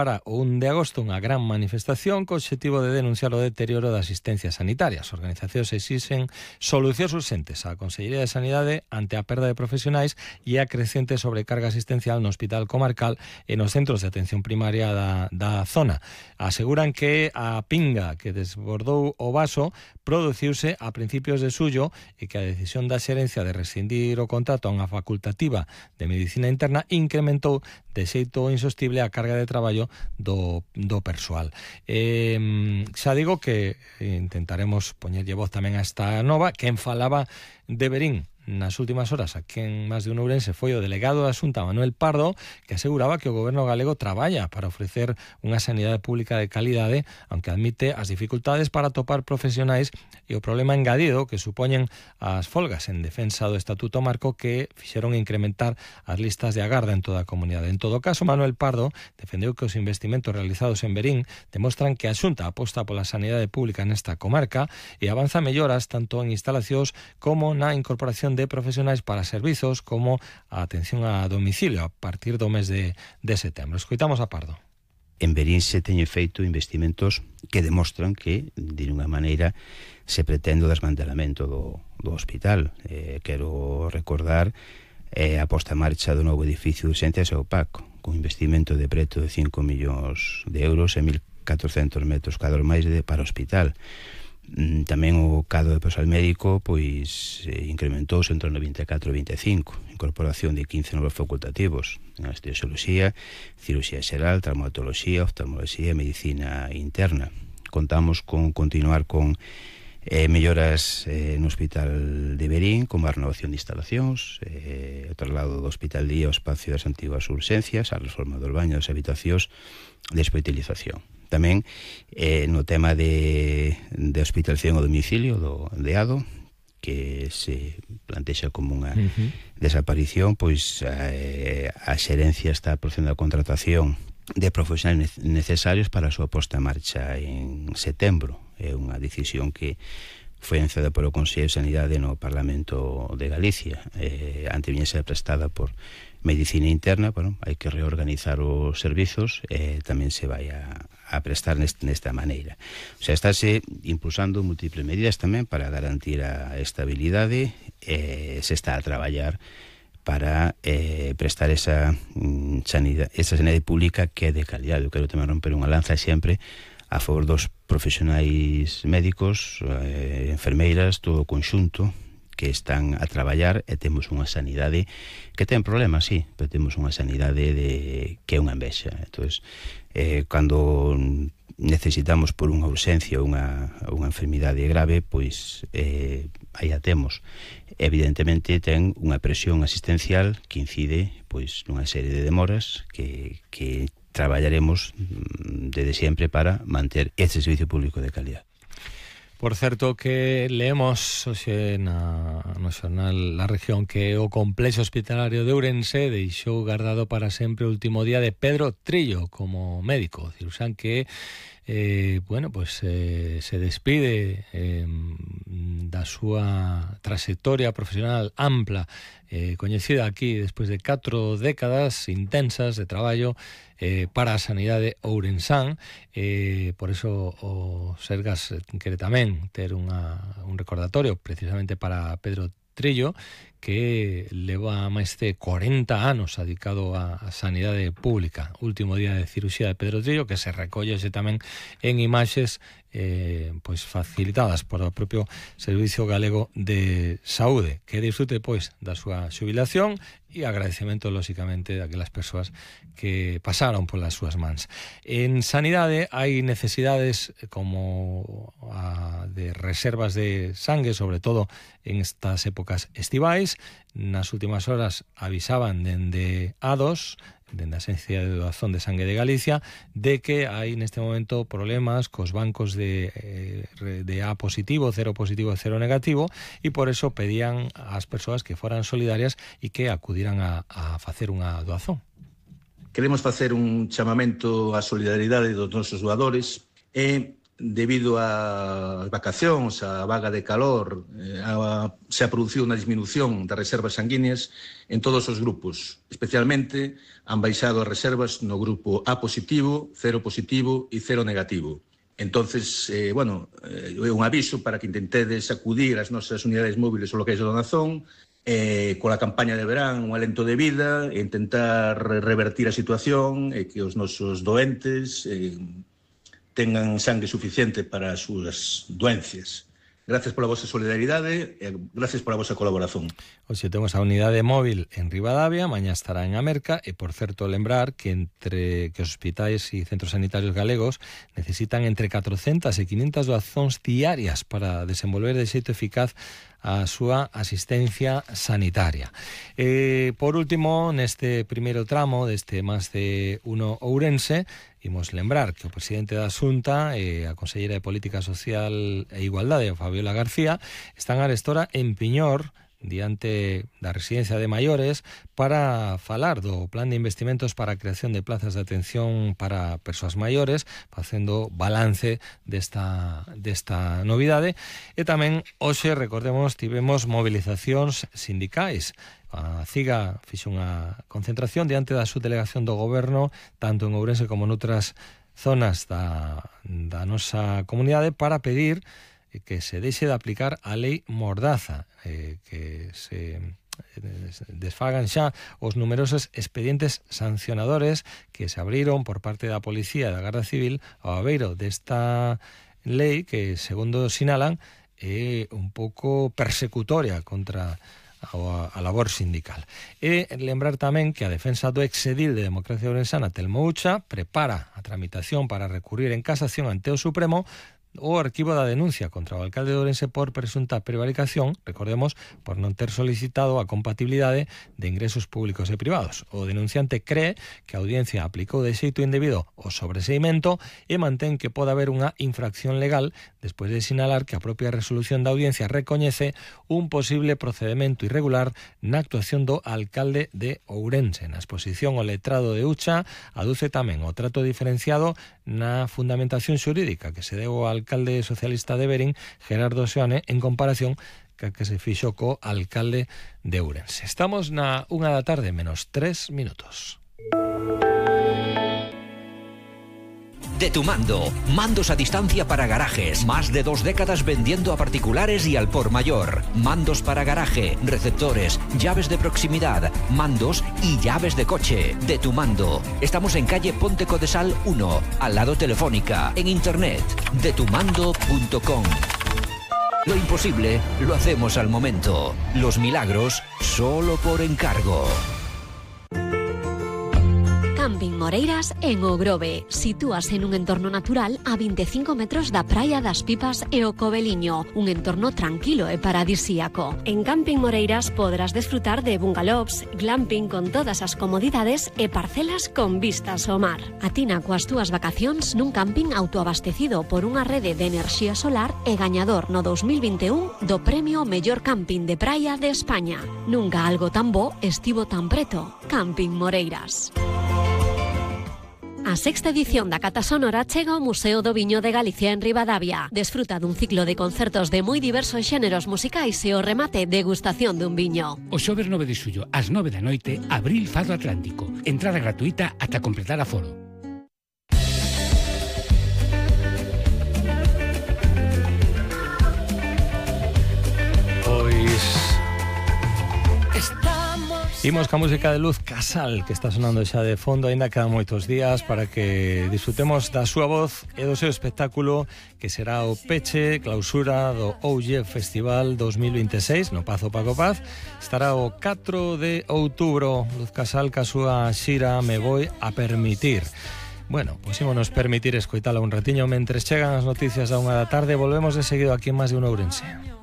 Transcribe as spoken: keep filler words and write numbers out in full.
Para o un de agosto unha gran manifestación co obxectivo de denunciar o deterioro da asistencia sanitaria. As organizacións exixen solucións urxentes á Consellería de Sanidade ante a perda de profesionais e a crecente sobrecarga asistencial no Hospital Comarcal e nos centros de atención primaria da, da zona. Aseguran que a pinga que desbordou o vaso produciuse a principios de xullo e que a decisión da xerencia de rescindir o contrato a unha facultativa de medicina interna incrementou de xeito insostible a carga de traballo do, do persoal. Eh, xa digo que intentaremos poñerlle voz tamén a esta nova. Quen falaba de Verín nas últimas horas aquí en Más de un Ourense foi o delegado da Xunta, Manuel Pardo, que aseguraba que o goberno galego traballa para ofrecer unha sanidade pública de calidade, aunque admite as dificultades para atopar profesionais e o problema engadido que supoñen as folgas en defensa do Estatuto Marco que fixeron incrementar as listas de agarda en toda a comunidade. En todo caso, Manuel Pardo defendeu que os investimentos realizados en Verín demostran que a Xunta aposta pola sanidade pública nesta comarca e avanza melloras tanto en instalacións como na incorporación de profesionais para servizos como a atención a domicilio a partir do mes de, de setembro. Escoitamos a Pardo. En Verín se teñen feito investimentos que demostran que, de unha maneira, se pretende o desmantelamento do, do hospital. Eh, quero recordar eh, a posta en marcha do novo edificio de urxencias e o P A C, con investimento de preto de cinco millóns de euros e mil catrocentos metros cadros máis de, para o hospital. Tamén o cadro de persoal médico pois eh, incrementouse entre o vinte e catro e vinte e cinco, incorporación de quince novos facultativos en anestesioloxía, cirurxía xeral, traumatoloxía, oftalmoloxía e medicina interna. Contamos con continuar con eh, melloras eh, no Hospital de Verín, como a renovación de instalacións, eh, o traslado do Hospital Día ao espacio das antiguas urxencias, a reforma dos baños das habitacións de hospitalización. Tamén eh, no tema de, de hospitalización ao domicilio do DEADO, que se plantexa como unha uh-huh. desaparición, pois eh, a xerencia está procedendo a contratación de profesionais necesarios para a súa posta en marcha en setembro. É unha decisión que foi anunciada polo Consello de Sanidade no Parlamento de Galicia. Eh, ante viña ser prestada por Medicina Interna, bueno, hai que reorganizar os servizos e eh, tamén se vai a, a prestar neste, nesta maneira. O sea, estáse impulsando múltiples medidas tamén para garantir a estabilidade e eh, se está a traballar para eh, prestar esa mm, sanidade, esa sanidade pública que é de calidade. Eu quero tamén romper unha lanza sempre a favor dos profesionais médicos, eh, enfermeiras, todo o conxunto que están a traballar e temos unha sanidade que ten problemas, sí, pero temos unha sanidade de, que é unha envexa. Entón, eh, cando necesitamos por unha urxencia ou unha, unha enfermidade grave, pois eh, aí a temos. Evidentemente ten unha presión asistencial que incide pois nunha serie de demoras que, que traballaremos desde sempre para manter este servicio público de calidad. Por certo que leemos hoxe na, no xornal La Región que o complexo hospitalario de Ourense deixou guardado para sempre o último día de Pedro Trillo como médico, cirurxán que eh, bueno, pues, eh, se despide eh, da súa trayectoria profesional ampla, eh, coñecida aquí despois de catro décadas intensas de traballo Eh, para a sanidade ourensán. Eh, por eso o Sergas quere tamén ter unha, un recordatorio precisamente para Pedro Trillo, que leva máis de corenta anos dedicado á sanidade pública. Último día de cirurxía de Pedro Trillo, que se recolle tamén en imaxes eh, pois facilitadas por o propio Servicio Galego de Saúde. Que disfrute pois da súa xubilación e agradecemento, lóxicamente, daquelas persoas que pasaron polas súas mans. En sanidade hai necesidades como a de reservas de sangue, sobre todo en estas épocas estivais. Nas últimas horas avisaban dende A dos, dende a Axencia de Doazón de Sangue de Galicia, de que hai neste momento problemas cos bancos de, de A positivo, cero positivo e cero negativo, e por eso pedían ás persoas que foran solidarias e que acudiran a, a facer unha doazón. Queremos facer un chamamento á solidaridade dos nosos doadores e debido ás vacacións, a vaga de calor, eh, a, se ha producido unha disminución das reservas sanguíneas en todos os grupos. Especialmente han baixado as reservas no grupo A positivo, cero positivo e cero negativo. Entonces, eh, bueno, é eh, un aviso para que intentedes acudir ás nosas unidades móviles ou locais de donación, eh, coa campaña de verán, un alento de vida, e intentar revertir a situación e que os nosos doentes eh, tengan sangue suficiente para as súas doencias. Gracias pola vosa solidaridade e gracias pola vosa colaboración. Hoxe temos a unidade móvil en Ribadavia, mañá estará en Amerca e, por certo, lembrar que entre que os hospitais e centros sanitarios galegos necesitan entre catrocentas e quinhentas doazóns diarias para desenvolver de xeito eficaz a súa asistencia sanitaria. Eh, por último, neste primeiro tramo deste Más de Uno Ourense, imos lembrar que o presidente da Xunta e a conselleira de Política Social e Igualdade, Fabiola García, están arestora en Piñor diante da residencia de maiores para falar do plan de investimentos para a creación de plazas de atención para persoas maiores, facendo balance desta, desta novidade. E tamén hoxe, recordemos, tivemos movilizacións sindicais. A CIGA fixe unha concentración diante da subdelegación do goberno, tanto en Ourense como noutras zonas da, da nosa comunidade, para pedir que se deixe de aplicar a lei Mordaza, eh, que se desfagan xa os numerosos expedientes sancionadores que se abriron por parte da Policía e da Garda Civil ao abeiro desta lei que, segundo sinalan, é un pouco persecutoria contra a labor sindical. E lembrar tamén que a defensa do exedil de Democracia Ourensana, Telmo Ucha, prepara a tramitación para recurrir en casación ante o Supremo o arquivo da denuncia contra o alcalde de Ourense por presunta prevaricación, recordemos, por non ter solicitado a compatibilidade de ingresos públicos e privados. O denunciante cree que a audiencia aplicou de xeito indebido o sobreseimento e mantén que pode haber unha infracción legal despois de sinalar que a propia resolución da audiencia recoñece un posible procedimento irregular na actuación do alcalde de Ourense. Na exposición, o letrado de Ucha aduce tamén o trato diferenciado na fundamentación xurídica que se deu ao alcalde socialista de Verín, Gerardo Seoane, en comparación que que se fixo co alcalde de Ourense. Estamos na unha da tarde menos tres minutos. De Tu Mando, mandos a distancia para garajes, más de dos décadas vendiendo a particulares y al por mayor. Mandos para garaje, receptores, llaves de proximidad, mandos y llaves de coche. De Tu Mando. Estamos en calle Ponte Codesal uno, al lado Telefónica, en internet, de tu mando punto com. Lo imposible lo hacemos al momento. Los milagros solo por encargo. Camping Moreiras en O Grove. Sitúase en un entorno natural a veinticinco metros da Praia das Pipas e o Coveliño, un entorno tranquilo e paradisíaco. En Camping Moreiras podrás desfrutar de bungalows, glamping con todas as comodidades e parcelas con vistas ao mar. Atina coas túas vacacións nun camping autoabastecido por unha rede de enerxía solar e gañador no dos mil vinte e un do premio Mellor Camping de Praia de España. Nunca algo tan bo estivo tan preto. Camping Moreiras. A sexta edición da Cata Sonora chega ao Museo do Viño de Galicia en Ribadavia. Desfruta dun ciclo de concertos de moi diversos xéneros musicais e o remate degustación dun viño. O xoves nove de xullo, ás nove da noite, Abril Fado Atlántico. Entrada gratuita ata completar aforo. Imos ca música de Luz Casal, que está sonando xa de fondo, aínda quedan moitos días para que disfrutemos da súa voz e do seu espectáculo, que será o peche, clausura do Oulle Festival dos mil vinte e seis no Pazo Paco Paz. Estará o catro de outubro. Luz Casal ca súa xira Me Voi a Permitir. Bueno, pois ímonos permitir escoitala un ratiño mentres chegan as noticias da unha da tarde. Volvemos de seguido aquí en Más de Uno Ourense.